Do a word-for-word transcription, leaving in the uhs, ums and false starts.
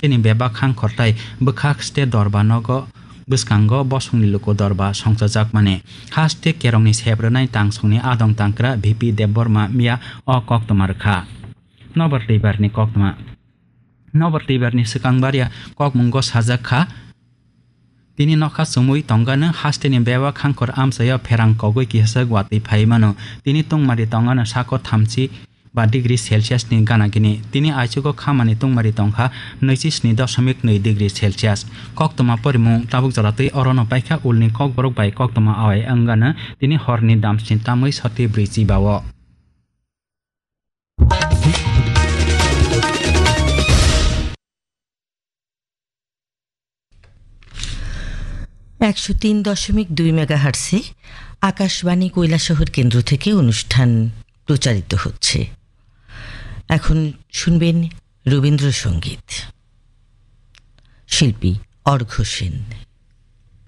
hasteni bebak hangkhor tai bwkhak state dorba nogo bwskango bosongni luku dorba songchajakmani. Haste kerongni sep rwnai tangsongni adong tangkra V P Debbarma miya o koktwma rwkha. Nobar Twibarni koktwma. Nobar Twibarni swkang baria kokmungo sajak kha. Tini nokha chumui tongano hasteni bebak hangkhor amchaio pherang kogwi kihaswk watwi phai mano. Tini tungmari tongano sako thamchi ba degree Celsius ni gana gini. Tini aichugo khamani tungmari tongkha naichi sni doshomik nwi degree Celsius. Koktwma porimung tabuk jora twi orono paikha ulni kokborok bai koktwma awai wngano tini horni damsni tamwi soti brwi chibao. একশো তিন দশমিক দুই মেগাহার্টসে আকাশবাণী কৈলাসহর কেন্দ্র থেকে অনুষ্ঠান প্রচারিত হচ্ছে। এখন শুনবেন রবীন্দ্রসঙ্গীত। শিল্পী অর্ঘ্য সেন।